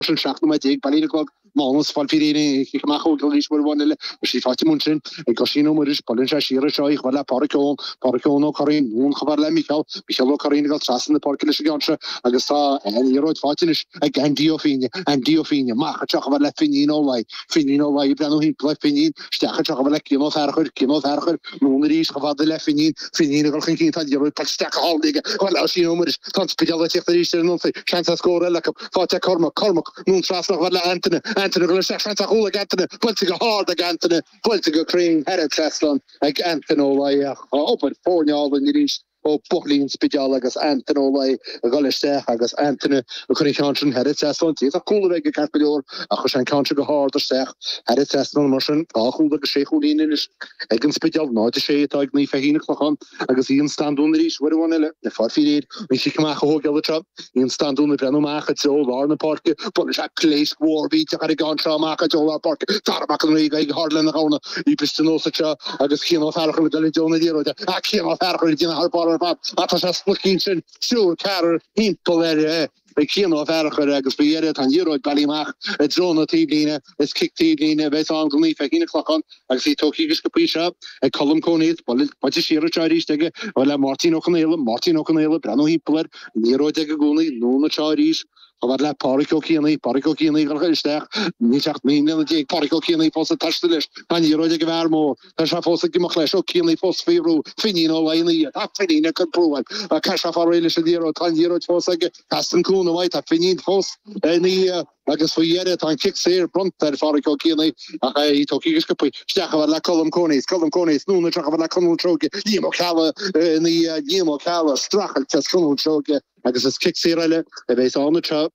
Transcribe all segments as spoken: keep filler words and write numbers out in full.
Sin seacht nóiméad déag bailithe ar an gclog. Mánas fáil faoi réir cic amach ó arís uair amháin eile agus í faighte amuigh ansin ag Oisín Ó Muiris. Buaileann sé siar anseo í chomh fada le Páraic Eoin. Páraic Eoin Ó Curraoin anonn chomh fada le Micheál. Micheál Ó Curraoin ag dul trasna na páirce leis an gceann seo agus tá an liathróid faighte anois ag Andy Ó Fínne. Andy Ó Fínne amach anseo chomh fada le Finín Ó Laoi. Finín Ó Laoi ag breathnú thimpeall air. Finín isteach anseo chomh fada le Cian Ó Fearchair. Cian Ó Fearchair anonn arís chomh fada le Finín. Finín ag dul chun cinn. Tá an liathróid buailte isteach go hálainn aige chomh fada le Oisín Ó Muiris. Tá an Spidéal ag tíocht arís ar an ionsaí. Seans ar scór eile acu. Faighte ag Cormac. Cormac anonn trasna chomh fada le Antaine. Antaine ag dul isteach. Seans ar chúl ag Antaine. Buailte go hard ag Antaine. Buailte go cruinn thar an trasnán ag Antaine Ó Laoi. Ach tá obair foirne álainn arís ó bhuachaillí an Spidéil agus Antaine Ó Laoi ag dul isteach agus Antaine ag cur an ceann sin thar an trasnán. D'fhéadfadh cúl a bheith aige ceart go leor ach chuir sé an ceann seo go hard isteach thar an trasnán. Mar sin, dhá chúl agus sé chúilín anois ag an Spidéal. Náid a sé atá ag Naomh Feichín an Clochán agus Ian Standún arís uair amháin eile ag fáil faoi réir an chic amach a thógáil anseo. Ian Standún ag breathnú amach i dtreo lár na páirce. Buaileann sé pléasc mhór mhillteach ar an gceann seo amach i dtreo lár páirce. Dara Mac an Rí ag aghaidh thar lena ghamhna. Í briste anuas anseo agus Cian Ó Fearchair ag dul i dtreo na liathróide. Ach Cian Ó Fearchair ag déanamh thar barr ar fad. Ach tá sé spluicín sin triúr ceathrar thimpeall air. Ag Cian Ó Fearchair agus faoi dheireadh tá an liathróid bailithe amach i dtreo na taobhlíne. Is cic taobhlíne a bheas ann do Naomh Feichín an Clochán agus í tógtha go sciobtha seo ag Colm Conaoth. Buailte siar anseo arís aige le Máirtín Ó Conaola. Máirtín Ó Conaola ag breathnú thimpeall air. An liathróid aige i gcónaí. Anonn anseo arís chomh fada le Páraic Ó Cianaigh. Páraic Ó Cianaigh ag dul isteach. Níl sé ach naoi mbliana déag. Páraic Ó Cianaigh fós ag taisteal leis. Tá an liathróid ag an bhfear mór. Tá sé fós ag imeacht leis. Ó Cianaigh fós faoi bhrú. Finín Ó Laoi ina dhiaidh. Tá Finín ag cur brú air. Caithfidh sé fáil réidh leis an liathróid. Tá an liathróid fós aige. Teastaíonn cúnamh uaidh. Tá Finín fós ina dhiaidh agus faoi dheireadh tá an cic saor bronnta ar Pháraic Ó Cianaigh ach é tógtha go sciobtha. Isteach chomh fada le Colm Conaoth. Colm Conaoth anonn anseo chomh fada le Conall Seoige. Liam Ó Ceallaigh ina dhiaidh. Liam Ó Ceallaigh streachailt as Conall Seoige agus is cic saor eile a bheas ann anseo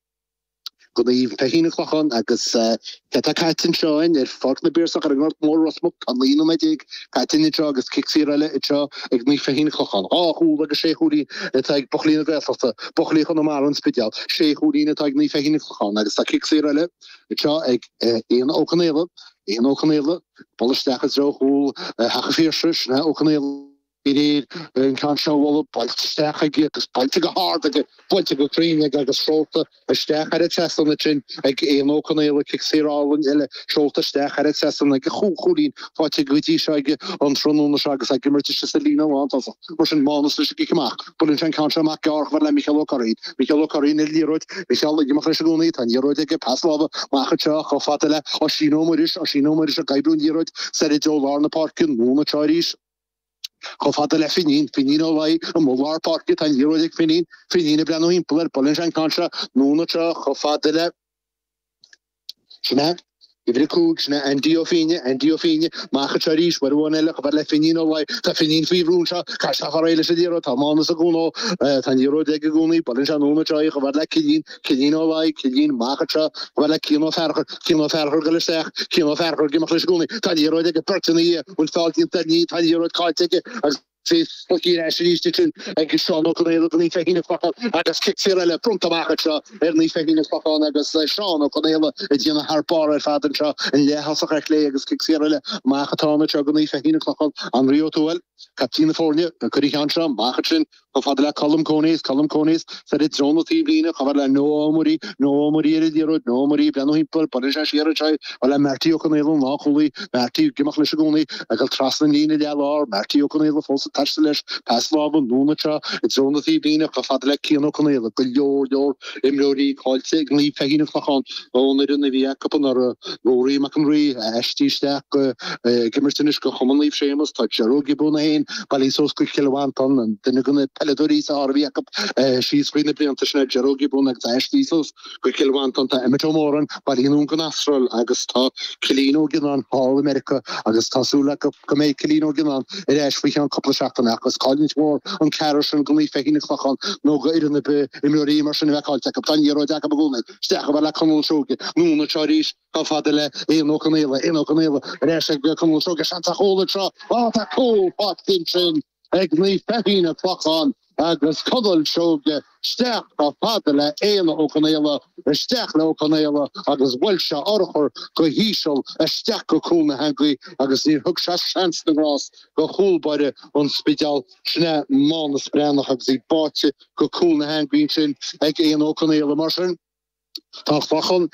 do Naomh Feichín an Clochán agus cé atá caite anseo againn ar Pháirc na bPiarsach ar an nGort Mór Ros Muc. Tá naoi nóiméad déag caite anseo agus cic saor eile anseo ag Naomh Feichín an Clochán. Dhá chúl agus sé chúilín atá ag buachaillí na Gaeltachta, buachaillí Chonamara an Spidéal. Sé chúilín atá ag Naomh Feichín an Clochán agus tá cic saor eile anseo ag Éanna Ó Conaola. Éanna Ó Conaola, bualadh isteach i dtreo chúl Theach an Phiarsaigh, sin é Ó Conaola. Aréir an ceann seo a bhualadh, buailte isteach aige agus buailte go hard aige, buailte go cruinn aige agus seolta isteach thar an trasnán ansin ag Éanna Ó Conaola, cic saor álainn eile seolta isteach thar an trasnán aige, chúig chúilín faighte go dtí seo aige an tráthnóna seo agus ag imirt istigh sa líne lántosach. Mar sin, Mánas leis an gcic amach. Buaileann sé an ceann seo amach gearr chomh fada le Micheál Ó Curraoin. Micheál Ó Curraoin ar an liathróid. Micheál ag imeacht leis i gcónaí. Tá an liathróid aige, pas láimhe amach anseo chomh fada le Oisín Ó Muiris. Oisín Ó Muiris ag oibriú an liathróid soir i dtreo lár na páirce. Anonn anseo arís. Chomh fada le Finín, Finín Ó Laoi, amuigh lár páirce, tá an liathróid ag Finín, Finín ag breathnú thimpeall air, buaileann sé an ceann seo anonn anseo chomh fada le, sin é, uimhir a cúig, sin é Andy Ó Fínne, Andy Ó Fínne, amach anseo arís, uair amháin eile, chomh fada le Finín Ó Laoi, tá Finín faoi bhrú anseo, caithfidh sé fáil réidh leis an liathróid, tá Mánas ag cúnamh, tá an liathróid aige i gcónaí, buaileann sé anonn anseo í chomh fada le Cillian, Cillian Ó Laoi, Cillian, amach anseo, chomh fada le Cian Ó Fearchair, Cian Ó Fearchair ag dul isteach, Cian Ó Fearchair ag imeacht leis i gcónaí, tá an liathróid aige, beirt ina dhiaidh, bhfuil feall déanta air, níl, tá an liathróid caillte aige agus í slogtha ar ais arís ansin ag Seán Ó Conaola do Naomh Feichín an Clochán agus cic saor eile bronnta amach anseo ar Naomh Feichín an Clochán agus Seán Ó Conaola ag déanamh thar barr ar fad anseo, an leath-thosach ar chlé agus cic saor eile amach atá ann anseo do Naomh Feichín an Clochán, Anraí Ó Tuathail, captaen na foirne, ag cur an cheann seo amach ansin. Chomh fada le Colm Conaoth, Colm Conaoth soir i dtreo na taobhlíne, chomh fada le Noah Ó Muirí, Noah Ó Muirí ar an liathróid, Noah Ó Muirí ag breathnú thimpeall, buaileann sé siar anseo í, chomh fada le Marty Ó Conaola, an lánchúlaí, Marty ag imeacht leis i gcónaí, ag dul trasna an líne leath-lár, Marty Ó Conaola fós ag taisteal leis, pas láimhe anonn anseo i dtreo na taobhlíne, chomh fada le Cian Ó Conaola, go leor leor imreoirí caillte ag Naomh Feichín an Clochán ón fhoireann a bhí acu anuraidh, Ruairí Mac an Rí, aistrithe isteach go, ag imirt anois do Chumann Naomh Séamus, tá Ger Ó Giobúin féin bailithe suas go Cill Mhantáin, an duine de na peileadóirí is fearr a bhí acu síos thrí na blianta sin é Ger Ó Giobúin agus aistrithe suas go Cill Mhantáin. Tá Emmet Ó Móráin bailithe anonn gon Astráil agus tá Cillian Ó Gionnáin thall i Meiriceá agus tá súil acu go mbeidh Cillian Ó Gionnáin ar ais faoi cheann cúpla seachtaine ach is cailliúint mhór an ceathrar sin do Naomh Feichín an Clochán nó go fhoireann ar bith imreoirí mar sin a bheith caillte acu. Tá an liathróid acu i gcónaí. Isteach chomh fada le Conall Seoige. Anonn anseo arís. Chomh fada le Éanna Ó Conaola, Éanna Ó Conaola ar ais ag Conall Seoige, seans ar chúl anseo. Á, tá cúl faighte ansin ag Naomh Feichín an Clochán agus Conall Seoige isteach chomh fada le Éanna Ó Conaola, isteach le Ó Conaola agus bhuail sé urchar go híseal isteach go cúl na heangaí agus níor thug sé seans na ngrást do chúl báire an Spidéil, sin é Mánas Breathnach agus í báite go cúl na heangaí ansin ag Éanna Ó Conaola. Mar sin. Tá Clochán